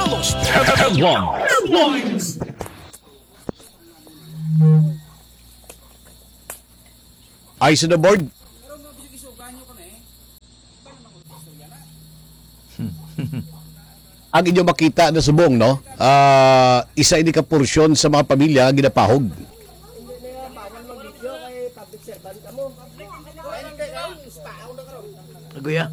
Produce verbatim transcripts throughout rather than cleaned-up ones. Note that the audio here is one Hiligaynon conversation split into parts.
Headline. Eyes on the board. Ang inyo makita na subong, no? Ah, isa ini ka porsyon sa mga pamilya nga ginapahog. Aguya.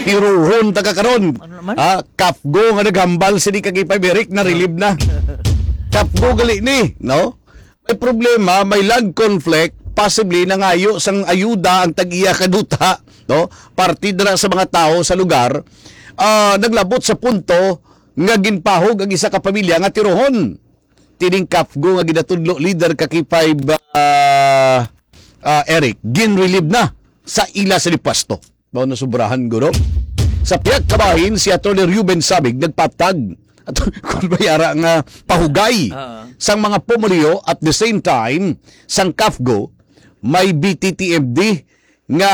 Tiruhon ta ka karon. Ano naman? Ah, Kafgo nga naghambal sini ka K five Eric, na-relieve na. Kafgo gali ni, no? May problema, may land conflict, possibly nangayo sang ayuda ang tag-iya kaduta, no? Parte dira sa mga tawo sa lugar, ah, naglabot sa punto nga ginpahog ang isa ka pamilya nga tiruhon. Tining Kafgo nga ginatudlo leader ka K five, ah, ah, Eric, ginrelieve na sa ila sa pwesto. Mao na sobrahan, guro. Sa pihak kabahin, si Attorney Ruben Sabig nagpatag at kung bayara nga pahugay Ah. sang mga pumuluyo, at the same time, sang Kafgo, may B T T M D nga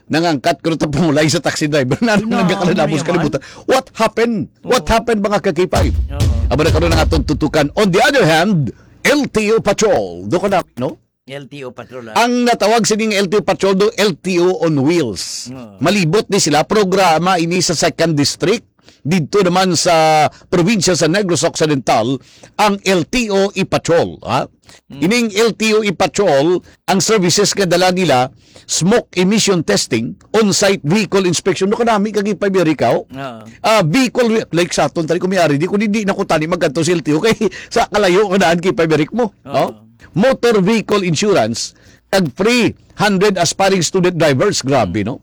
nangangkat ko ta pumulay sa taxi driver na Sino? nagakalalabos Ano kalibutan. What happened? What Oo. Happened, mga ka-K five? Oo. Aba na karon ang atong tutukan. On the other hand, L T O Patrol. Do ka na, no? L T O patrol, ah. Ang natawag sining L T O Patrol do, L T O on Wheels. Oo. Malibot ni sila, programa ini sa Second District. Dito naman sa probinsya sa Negros Occidental, ang L T O e-Patrol, ha? Ining L T O e-Patrol, ang services nga dala nila, smoke emission testing, on-site vehicle inspection. No, kanami ka gipabirikaw. Oo. Ah, vehicle, like sa aton, tali ko may ari, di ko di, di na ko tani magkanto sa L T O kay sa kalayo nga daan kay pabirik mo. No? Motor vehicle insurance, kag free hundred aspiring student drivers. Grabe, no?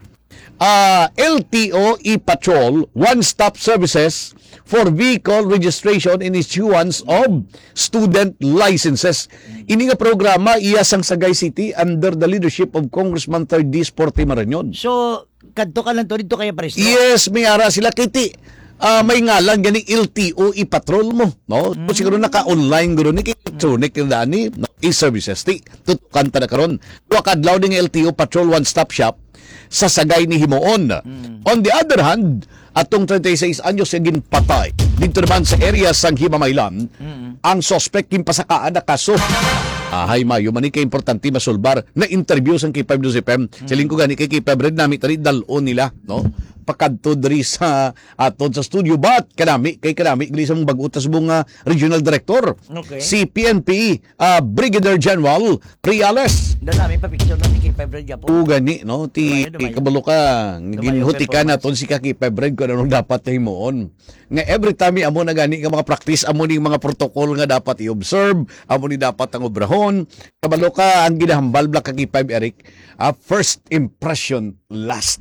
Ah, L T O e-Patrol, one-stop services for vehicle registration and issuance of student licenses. Ini nga programa iya sang Sagay City under the leadership of Congressman Third District Sporty Marañon. So, kadto ka lang to, dito kaya pares to? Yes, may ara sila. Kiti, ah, may ngalan gani L T O e-Patrol mo, no? So, siguro naka-online guro ni, electronic yung daan ni, no? E-services ti. Tutukan ta na karon. Duha ka adlaw ni nga L T O Patrol One Stop Shop sa Sagay ni Himuon. On the other hand, atong treinta y seis anyos nga ginpatay dito naman sa area sang Himamaylan, ang suspect ginpasakaan na kaso. Ahay, mayo man ni kay importante masulbar na interview sang K five News F M. Siling ko gani kay K five Red nami tani dal-on nila, no? Pakadto diri sa aton sa studio, but kanami kay kanami gali sa mga bag-o ta subong nga regional director, Okay. si P N P, ah, Brigadier General Reales. Dala namin pa picture ng K five Red Gapo. O gani, no? Ti Dumayo, dumayo. kabalo ka, Dumayo, ginhutikan performance. Naton si ka K five Red kung anong dapat himuon. Nga every time amo na gani nga mga practice, amo ning mga protocol nga dapat i-observe, amo ni dapat ang obrahon. Kabalo ka, ang ginahambal bla ka K five Eric, ah, first impression last.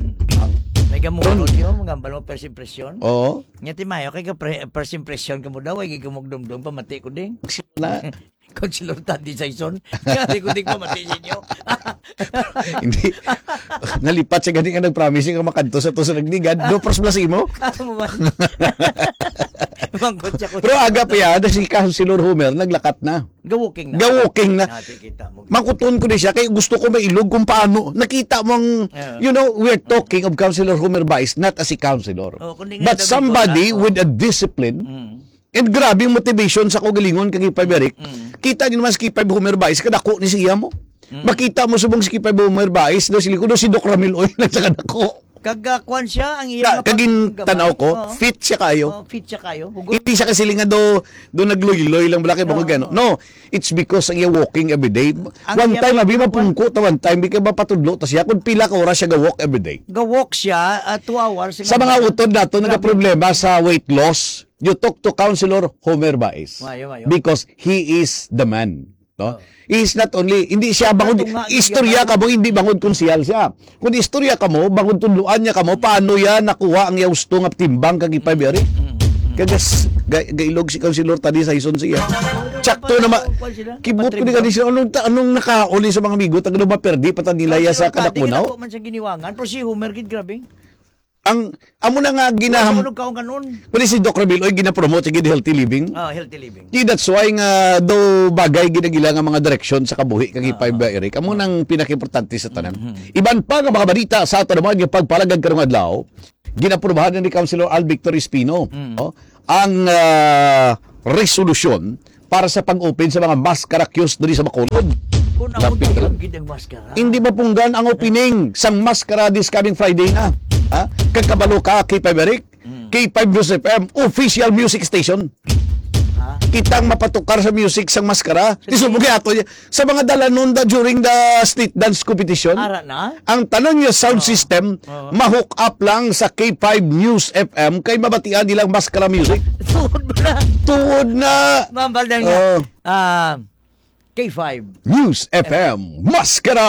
May gamungod yun, mga balo first impression. Oo. Nga ti mayo kay ka pre- first impression ka mo daw, ay gamugdumdum pamati ko ding. Na, Councilor Taddy Saison. Kaya di ko di pamati sa inyo. hindi. Nalipat siya gani nga nag-promise nga makadto sa to sa Nagligad. Do pros plus imo. Ano ba? Mangkot siya ko. Pero aga pa yan, si Councilor Homer, naglakat na. Ga-walking na. Ga-walking na. Ah, sige, kita mo. Makuton ko ni siya, kay gusto ko mailog kung paano. Nakita mong, Yeah. you know, we're talking of Councilor Homer Baez, not as a councilor. Oh, kundi nga But daw somebody ikaw, oh. With a discipline, Mm. and grabe yung motivation sa kagalingon kay K five Eric. Mm. Kita niyo naman si K five Homer Baez, kadako ni siya mo. Makita mo subong si K five Homer Baez, daw sila ko, daw si Doc Ramil Oy, lang sa kadako. Kag ah, kwan siya, ang iya Ka, mga pag- kagin tanaw ko, Oo. fit siya kayo. Oh, fit siya kayo. Hugot. Hindi siya kasi nga do, do nagluy-luy lang bala kay bangod Oo. gano. No, it's because ang iya walking every day. Ang One iya time, abi pag- mapungko ta one time, di ka mapatudlo ta siya kung pila ka oras siya ga-walk every day. Ga-walk siya, ah, two hours. Sa mga utod nato, Grabe. nagaproblema sa weight loss, you talk to Councilor Homer Baez. Mayo, mayo. Because he is the man. No? Oh. He is not only, hindi siya bangod, Ito nga, istorya iya ka mo, hindi bangod kung siyal siya. Kung istorya ka mo, bangod tudluan niya ka mo, paano yan nakuha ang iya gusto nga timbang kag ipabiyari? Mm, mm. Kagas, ga, gailog si Councilor Taddy Saison siya. Tsakto na ma-, Kwan sila? kibot ko ni Patrick. Ganis, anong, ta- anong nakauli sa mga amigo, taga maperdi pa ta nila ya sa Councilor Taddy, kadakunaw? kinako man sa giniwangan, pero si Homer gid, grabe. Ang, amo na nga ginaham-, Wala ko kaon kanon. Pwede si Doc Ramil, oy, ginapromote sa gid healthy living. Ah, healthy living. Di, that's why nga daw bagay ginagila nga mga direksyon sa kabuhi kang Ah, K five ah. Eric. Amo Ah. nang pinakaimportante sa tanan. Mhm. Iban pa nga mga balita sa ato naman nga pagpalagad karong adlaw, ginaprubahan ni Councilor Al Victor Espino, Mm. no? Ang, ah, resolusyon para sa pag-open sa mga maskara kiosk diri sa Bacolod. Kung ako Lapit na lang. Gid ang maskara. Hindi mapunggan ang opening sang maskara this coming Friday na. Ha? Kagkabalo ka, K five Eric? Mm. K five News F M, official music station. Ha? Kitang mapatukar sa music sang maskara. Sa Di subong kay ato niya. Sa mga dalanon da during the street dance competition, Ara na? ang tanan nga sound Oo. system Oo. ma-hook up lang sa K five News F M kay mabatian nilang maskara music. Tuod na. Tuod na. Ma'am, balda nga. Oo. Ah, K five. News F M, maskara.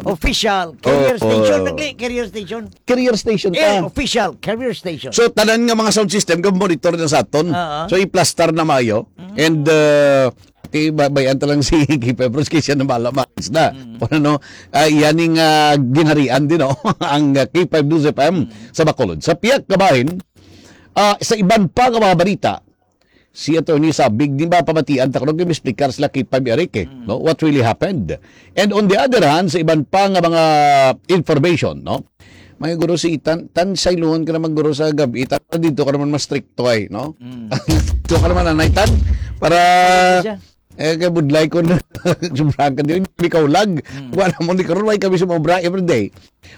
Official. Carrier Oo. station. Nagli-, carrier station. Carrier station Eh, ka. Official. Carrier station. So, tanan nga mga sound system, ga-monitor na sa aton. Oo. So, iplastar na maayo. Mm. And, uh, Kay ba-, bayan ta lang si K five Bros kay siya na bala, malis na. Mm. Ano, no? Ah, yan ning, ah, ginharian din, no? Ang, ah, K five News F M Mm. sa Bacolod. Sa pihak kabahin, ah, sa iban pa nga mga balita, si Attorney Sabig, di ba pamatian ta kuno, gi-explicar sila K five Eric, eh, Mm. no? What really happened? And on the other hand, sa iban pa nga mga information, no? May guro si Tan, Tan, sayluhon ka naman guro sa gabi, Tan, dito ka naman mas stricto ay, no? Mm. Dito ka naman, Nanay Tan, para, Siya. eh, kay budlay ko na, sobrang ka din, ikaw lag. Mm. Wala mo ni karon, why kami sumobra every day?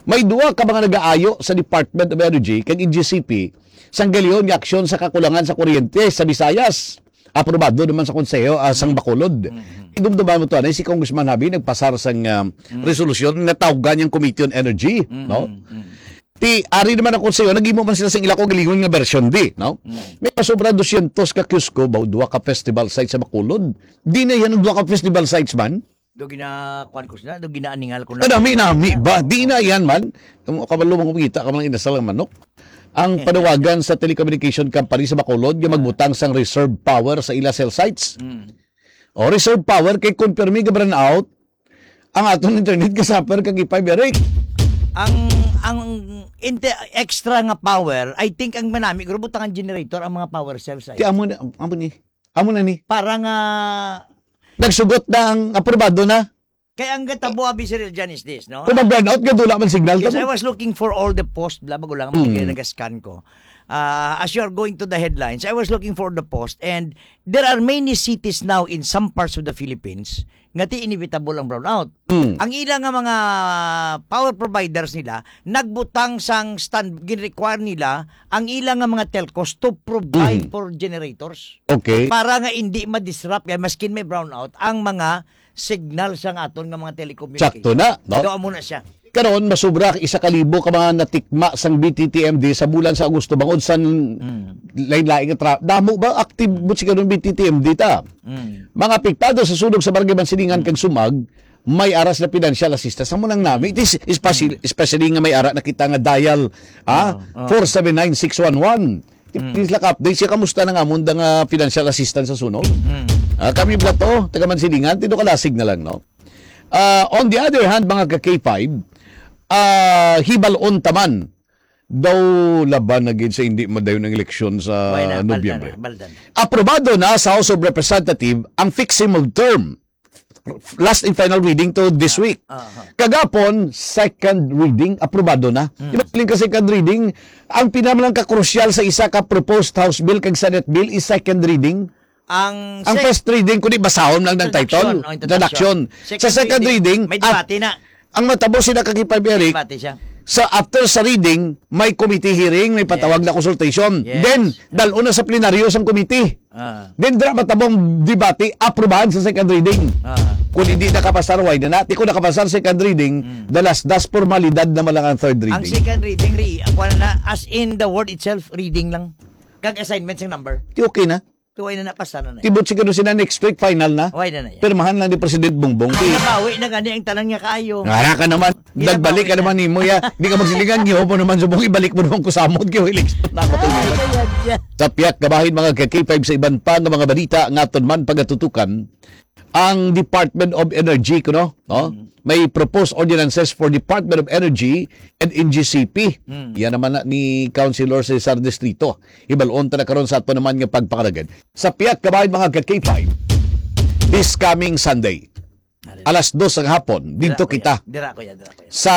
May duha ka mga nagaayo sa Department of Energy kag N G C P sang galihon nga aksyon sa kakulangan sa kuryente sa Visayas. Aprobado naman sa Konseho, ah, sang Bacolod. Mm-hmm. Idumduman mo to, anay, si Congressman Javi nagpasar sang, ah, Mm. resolusyon nga tawgan niyang Committee on Energy, Mm-hmm. no? Mm-hmm. Ti, ari naman ang Konseho, naghimo man sila sing ila ko galingon nga version di, no? Mm. May pasobra dosyentos ka kiosko, ba, duha ka festival sites sa Bacolod. Di na yan ang duha ka festival sites man. Do gina-, kuwan ko sila, do ginaaningal ko na. Ah, nami, nami ba? Di na yan man. Ang kabalo mo kumita ka man inasal ang manok. Ang panawagan sa telecommunication company sa Bacolod nga magbutang sang reserve power sa ila cell sites. Mm. O, reserve power kay kung pirmi ga brownout, ang aton internet ga-suffer kag ipay biya, Rick. Ang, ang inte-, extra nga power, I think ang manami, guro, butangan generator ang mga power cell sites. Kaya amo na, amo ni, amo na ni. Para nga Nagsugot na ang aprobado na. Kay ang gatabo, abi, Sir Eljan, is this, no? Kung mag-brownout, gadula man signal Yes, tamo. I was looking for all the post, bla, bago lang, Mm. kaya nagascan ko. Ah, as you are going to the headlines, I was looking for the post, and there are many cities now in some parts of the Philippines nga ti inevitable ang brownout. Mm. Ang ila nga mga power providers nila nagbutang sang stand, gin-require nila ang ila nga mga telcos to provide Mm. for generators. Okay. Para nga hindi ma-disrupt kay maskin may brownout ang mga signal sang aton nga mga telecommunication. Sakto na, no? Daw amo na siya. Karon, masubra isa ka libo ka mga natikma sang B T T M D sa bulan sa Agosto bangod sa Mm. lain-lain nga tra-, damo ba active mo si karon B T T M D ta? Mm. Mga apektado sa sunog sa Barangay Mansilingan Mm. kag Sumag, may ara sila financial assistance. Amo nang nami, it is especially, Mm. especially nga may ara na kita nga dial, ah, Oo, oo. four seven nine six one one. Mm. Please lang update siya, kamusta na nga amon da nga financial assistance sa sunog? Mm. Ah, kami bala to, taga Mansilingan, tindo kalasig na lang, no? Ah, on the other hand, mga ka K five, ah, hibalon taman daw laban na gid sa hindi madayon ang eleksyon sa Why na? Balda Nobyembre. Na, balda na. Aprobado na sa House of Representatives ang fixing of term. Last and final reading to this week. Ah, ah. Kagapon, second reading, aprobado na. Mm. Di ba, siling ka second reading, ang pinamalang ka-crucial sa isa ka proposed House bill kag Senate bill is second reading. Ang Ang sec- first reading, kundi basahon lang ng title, Introduction, oh, introduction. Introduction. Sa second Second reading, reading, may ah, debate na. Ang matabo sila kag K five Eric, Debate siya. sa after sa reading, may committee hearing, may patawag Yes. na consultation. Yes. Then, dal-on na sa plenaryo sang committee. Ah. Then, dira matabong debate, aprubahan sa second reading. Ah. Kung hindi nakapasar, why na na? Di ko nakapasar second reading, Mm. dalas das formalidad naman lang ang third Ang reading. second reading, re-, ako na, as in the word itself, reading lang. Kag assignment sa number. Di okay na. Tuway na napasar na na. Tibot siguro sila next week, final na. Why na na yan? Pirmahan lang ni President Bongbong. Ang nabawi na gani ang tanan nga kaayo. Ngara ka naman. Ginabawi Nagbalik ka na. naman nimo, ya. Di ka magsilingan, giho mo naman, subong ibalik mo naman kusamot, kay election na ako. Ay, kaya dyan. Sa pihak kabahin, mga ka K five, sa iban pa nga mga balita, nga aton man pagatutukan, ang Department of Energy, kuno, no? Mm. may proposed ordinances for Department of Energy and N G C P. Mm. Yan naman na ni Councilor Cesar Distrito. Hibalon ta na karon sa ato naman nga pagpangalagad. Sa pihak ka bahin, mga ka-K five, this coming Sunday, alas dos ng hapon, dito kita. Dira ko yan, dira ko yan. Sa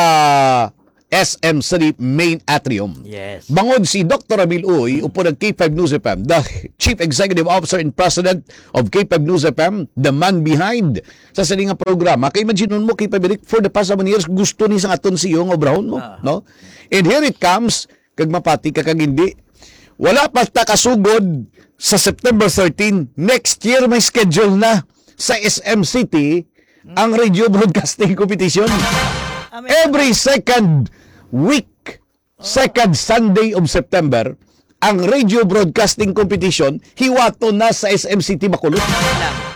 S M City Main Atrium. Yes. Bangod si Doctor Ramil Uy, upod ang K five News F M, the Chief Executive Officer and President of K five News F M, the man behind sa sini nga programa. Kay imagine mo, K five Eric, for the past seven years, gusto ni sang aton C E O nga obrahon mo, Ah. no? And here it comes, kag mapati ka kag hindi. Wala pa ta kasugod sa September thirteen. Next year, may schedule na sa S M City ang radio broadcasting competition. Amen. Every second week, second Sunday of September, ang radio broadcasting competition, hiwato na sa S M City Bacolod.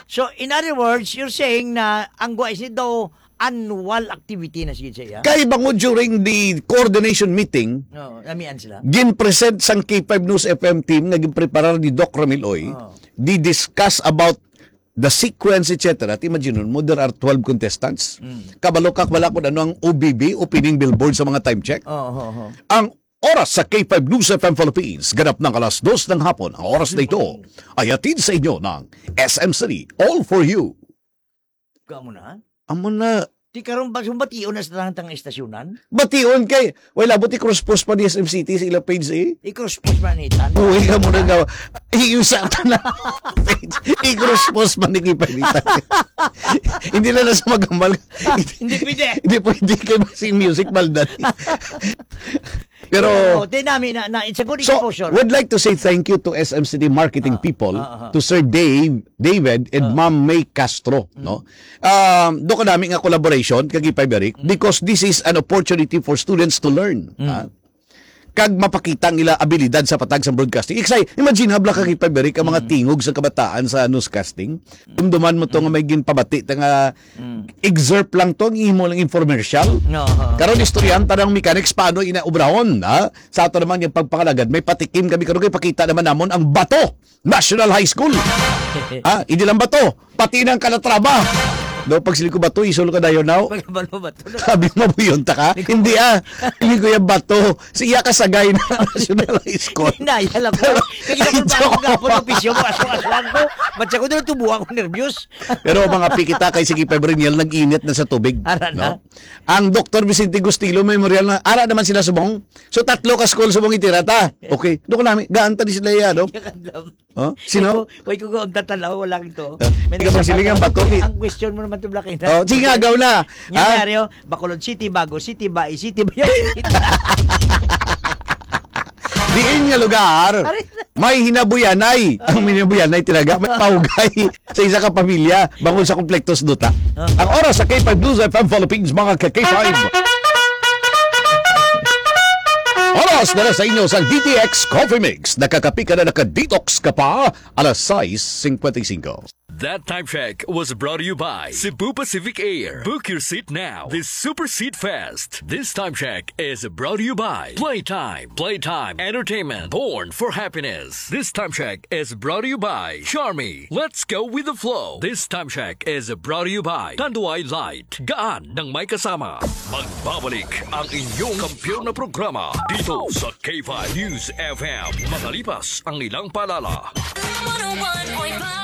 So, in other words, you're saying na ang guwa is daw annual activity na sige siya. Kay bangod during the coordination meeting, Oo, namian sila. Gin-present sang K five News F M team nga ginpreparar ni Doc Ramil Oy, Oo. Di-discuss about the sequence, et cetera. At imagine mo, there are twelve contestants. Mm. Kabalo ka, wala ko ano ang O B B, opening billboard sa mga time check. Oo, oo, oo. Ang oras sa K five News F M Philippines, ganap ng alas dos ng hapon. Ang oras na ito ay hatid sa inyo ng S M City. All for you. Ka mo na? Amo na. Di karon ba, sumbation na sa tang, tang estasyonan? Bation kay, wala, buti cross post pa ni S M City sa ilang page, eh. I-cross post man ni Tan. Uy, ka mo na nga. Iusa ka na. I-cross post man ni Kipay ni Tan. Hindi na lang sa magamal. Hindi pwede. Hindi pwede kay si music maldan. Pero Pero, di nami na, na, it's a good So, exposure. Would like to say thank you to S M City marketing Ah, people, ah, ah. to Sir Dave, David, and Ah. Ma'am May Castro, Mm. no? Um, do ko nami nga collaboration kag Ipay Berik Mm. because this is an opportunity for students to learn, Mm. ha? Kag mapakita ang ila abilidad sa patag sa broadcasting. Iksay, imagine habla ka, Mm. Ipay Berik, ang mga Mm. tingog sa kabataan sa newscasting. Dumduman mo to nga Mm. may ginpabati ta nga Mm. excerpt lang to, ang imo lang infomercial. No, oo. Karon, istoryahan ta ng mechanics paano ina obrahon, ha? Sa ato naman yung pagpangalagad, may patikim kami karon kay pakita naman namon ang Bato National High School. Ha? Hindi lang Bato, pati ng Calatrava. No, pag siling ko Bato, isol ka dayon now. Pag balo ba to? Sabi mo, buyon ta ka? Hindi, ah. Hindi ko yung Bato. Siya ka sagay na National High School. Hinaya lang ko. Kaya Ay, ako ba ako joke. Gapon ng pisyo mo? Aswang-aswang ko. Ba't siya ko doon tubuhan ko nervyos? Pero mga pikita kay sige, Pebriniel, nag-init na sa tubig, Ara na. no? Ang Doktor Vicente Gustilo Memorial na, ara naman sila subong. So, tatlo ka school subong itira ta. Okay. Doon ko namin, gaan ta di sila iya, no? Kakadlam. Oh, sino? Wait ko, wait ko, ang tatanaw, wala ito. Ah, May ikaw, nagsasabi, magsiling ang Bato, eh. Ang question mo naman to, Black Eye. Oh, sige, agaw na. Nga, Ha? Mario, Bacolod City, Bago City, Bai City, Bayan City. Diin nga lugar, Aray. may hinabuyanay. Ang hinabuyanay talaga, may paugay sa isa ka pamilya, bangod sa komplektos duta. Ah. Ang oras sa K five News F M Philippines, mga ka-K five. Oras na, na sa inyo sa D T X Coffee Mix. Nakakapi ka na, naka-detox ka pa. Alas sais cincuenta y cinco. That time check was brought to you by Cebu Pacific Air. Book your seat now. This Super Seat Fest. This time check is brought to you by Playtime. Playtime Entertainment. Born for happiness. This time check is brought to you by Charmy. Let's go with the flow. This time check is brought to you by Tanduay Light. Gaan ng may kasama. Magbabalik ang inyong kampiyon na programa dito sa K five News F M. Makalipas ang ilang paalala. One oh one point five.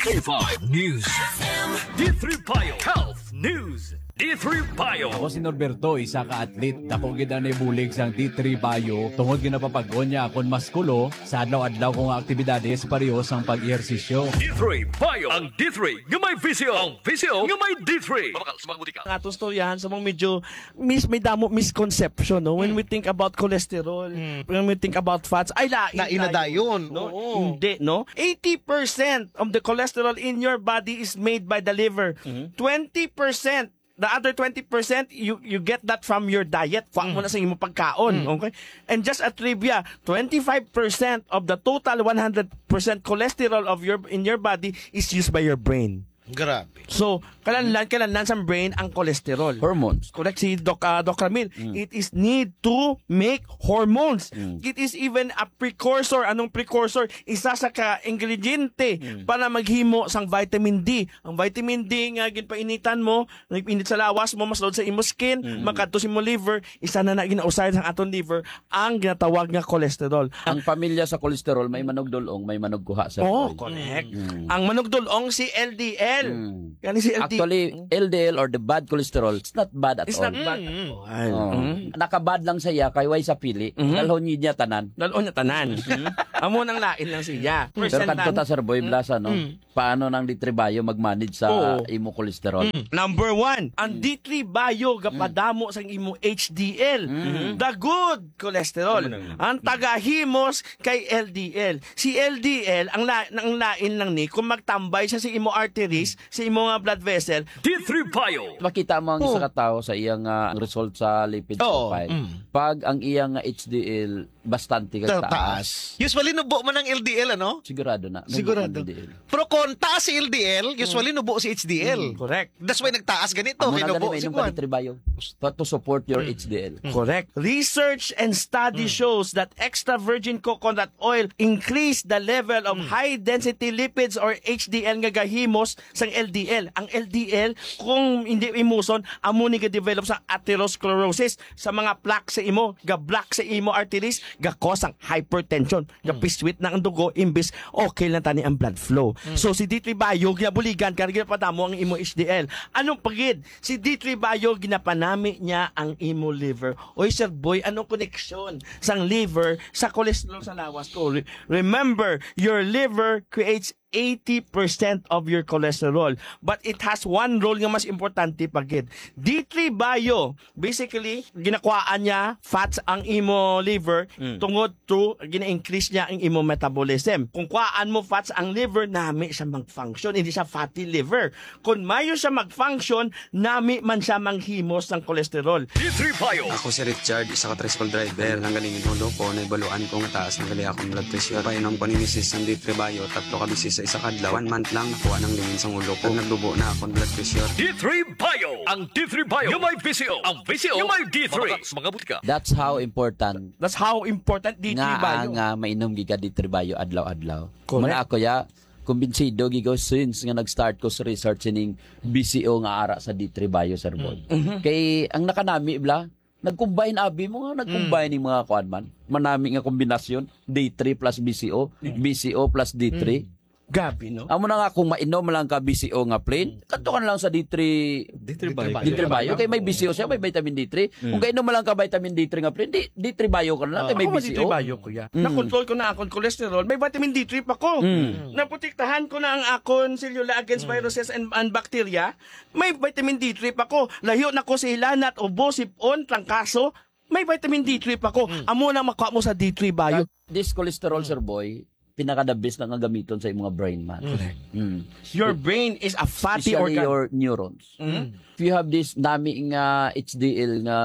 K five News F M. D three Bio Health News. D three Bio. Ako si Norberto, isa ka athlete. Dako gid ang nabulig sang D three Bio tungod ginapapag-on niya akon maskulo sa adlaw-adlaw ko nga aktibidades, pareho sang pag-ehersisyo. D three Bio. Ang D three nga may visyo. Ang visyo nga may D three. Mabakal sa mga butika. Ang atong storyahan sa mga medyo mis-, may damo misconception, no? When Mm. we think about cholesterol, Mm. when we think about fats, ay, lain Lain na tayo, dayon, no? Oo. Hindi, no? Eighty percent of the cholesterol in your body is made by the liver. Mhm. Twenty percent, the other twenty percent, you, you get that from your diet. Kuha mo Mm. na sa imong pagkaon, Mm. okay? And just a trivia, twenty-five percent of the total one hundred percent cholesterol of your, in your body is used by your brain. Grabe. So, Kinahanglan, kinahanglan sa brain ang cholesterol. Hormones. Correct si Doc, ah, Doc Ramil. Mm. It is need to make hormones. Mm. It is even a precursor. Anong precursor? Isa sa ka-ingrediente Mm. para maghimo sang vitamin D. Ang vitamin D nga ginpainitan mo, nagpainit sa lawas mo, mas load sa imo skin, Mm. makadto sa imo liver, isa na na ginausay sang aton liver, ang ginatawag nga cholesterol. Ang pamilya sa cholesterol, may manugdulong, may manugkuha, sir. Oh, Boy. Correct. Mm. Ang manugdulong si L D L. Mm. Kani si L D L. Actually, L D L or the bad cholesterol, it's not bad at It's all. not bad at Mm. all. Oh. Mm. Nakabad lang siya kay way sa pili. Mm-hmm. Dalhon niya tanan. Dalhon niya tanan. Mm-hmm. Amo nang lain lang siya. Pero Percent kadto lang. ta, Sir Boy Mm. Blasa, no? Mm. Paano nang D three Bio mag-manage sa Oo. imo cholesterol? Mm. Number one, ang Mm. D three Bio Mm. gapadamo sang imo H D L. Mm. The good cholesterol. Amo nang Ang tagahimos kay L D L. Si L D L, ang la-, ang lain lang ni, kung magtambay siya sa imo arteries, Mm. sa imo nga blood vessel, D three Bio. Makita mo ang Oo. isa ka tawo sa iyang, ah, result sa lipid Oo. profile. Mm. Pag ang iyang, ah, H D L bastante kag Ta-, taas. taas. Usually, nubo man ang L D L, ano? Sigurado na. Nubo Sigurado. ang L D L. Pero kung taas si L D L, usually, Mm. nubo si H D L. Mm, correct. That's why nagtaas ganito, Amo na hinubo gani, si mainom ka Kwan. D three Bio. To, to support your Mm. H D L. Mm. Correct. Research and study Mm. shows that extra virgin coconut oil increase the level of Mm. high-density lipids or H D L nga gahimos sang L D L. Ang L D L, kung hindi imuson, amo ni ga-develop sa atherosclerosis, sa mga plaque sa imo, ga-block sa imo arteries, ga-cause ang hypertension, Mm. ga-piswit na ang dugo, imbis okay lang tani ang blood flow. Mm. So, si D three Bio, ginabuligan ka, ginapadamo ang imo H D L. Anong pagid? Si D three Bio, ginapanami niya ang imo liver. Oy, Sir Boy, anong koneksyon sang liver sa cholesterol sa lawas ko? Re-, remember, your liver creates eighty percent of your cholesterol, but it has one role nga mas importante pa gid. D three Bio, basically, ginakuhaan niya fats ang imo liver Mm. tungod to gina-increase niya ang imo metabolism. Kung kuhaan mo fats ang liver, nami siya mag-function, hindi siya fatty liver. Kung mayo siya mag-function, nami man siya manghimos sang cholesterol. D three Bio. Ako si Richard, isa ka tricycle driver. Ang galing ulo ko, naibaluan ko nga taas na gali akong blood pressure. Painom ko ni misis sang D three Bio, tatlo ka beses sa isa ka adlaw. One month lang, nakuha nang lingin sang ulo ko. Nagdubo na akong blood pressure. D three Bio. Ang D three Bio nga may V C O. Ang V C O nga may D three. Mabaka sa mga butika. That's how important That's how important D three nga Bio. Ang, ah, mainom gid ka D three Bio adlaw-adlaw. Correct. Muna ako, ya, kumbinsido gid ko since nga nag-start ko sa research sining V C O nga ara sa D three Bio, Sir Boy. Mm. Mhm. Kay ang nakanami, bla, nag-combine abi mo nga, nag-combine Mm. ning mga kuan man. Manami nga kombinasyon, D three plus V C O, Mm. V C O plus D three. Mm. Gabi, no? Amo na nga, kung mainom lang ka V C O nga plain, Mm. kadto ka na lang sa D three, D three Bio. D three Bio. Kay may V C O siya, may vitamin D three. Mm. Kung kainom lang ka vitamin D three nga plain, di, D three Bio ka na lang, Ah, kay may ako, V C O. D three Bio, kuya. Mm. Na-control ko na akong cholesterol, may vitamin D three pa ko. Mm. Naprotektahan ko na ang akon selula against Mm. viruses and, and bacteria, may vitamin D three pa ko. Layo na ko sa hilanat, ubo, sipon, trangkaso, may vitamin D three pa ko. Mm. Amo na makuha mo sa D three Bio. This cholesterol, Mm. Sir Boy, pinaka the best na nga gamiton sa imong brain man. Correct. Mm. Your brain is a fatty Especially organ. Your neurons. Mm. If you have this nami nga H D L nga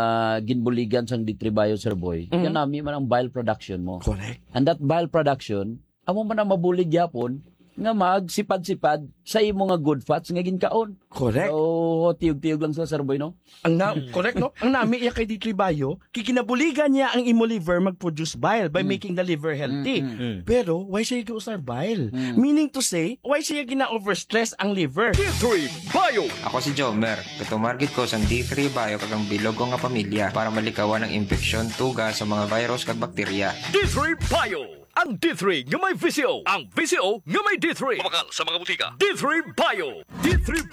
ginbuligan sang D three Bio, Sir Boy, Mm. yan nami man ang bile production mo. Correct. And that bile production, amo man ang mabulig gyapon nga magsipad-sipad sa imo nga good fats nga ginkaon. Correct. So, tiyog-tiyog lang sa, Sir Boy, no? Ang na-, Mm. correct, no? Ang nami iya kay D three Bio, kay ginabuligan niya ang imo liver mag-produce bile by Mm. making the liver healthy. Mm, mm. Mm. Pero, why siya giusar bile? Mm. Meaning to say, why siya gina-overstress ang liver? D three Bio. Ako si Jomer. Gatumar gid ko sang D three Bio kag ang bilog ko nga pamilya para malikawan ang impeksyon, tuga sa mga virus kag bakterya. D three Bio. Ang D three nga may V C O. Ang V C O nga may D three. Mabakal sa mga butika. D three Bio. D three Bio.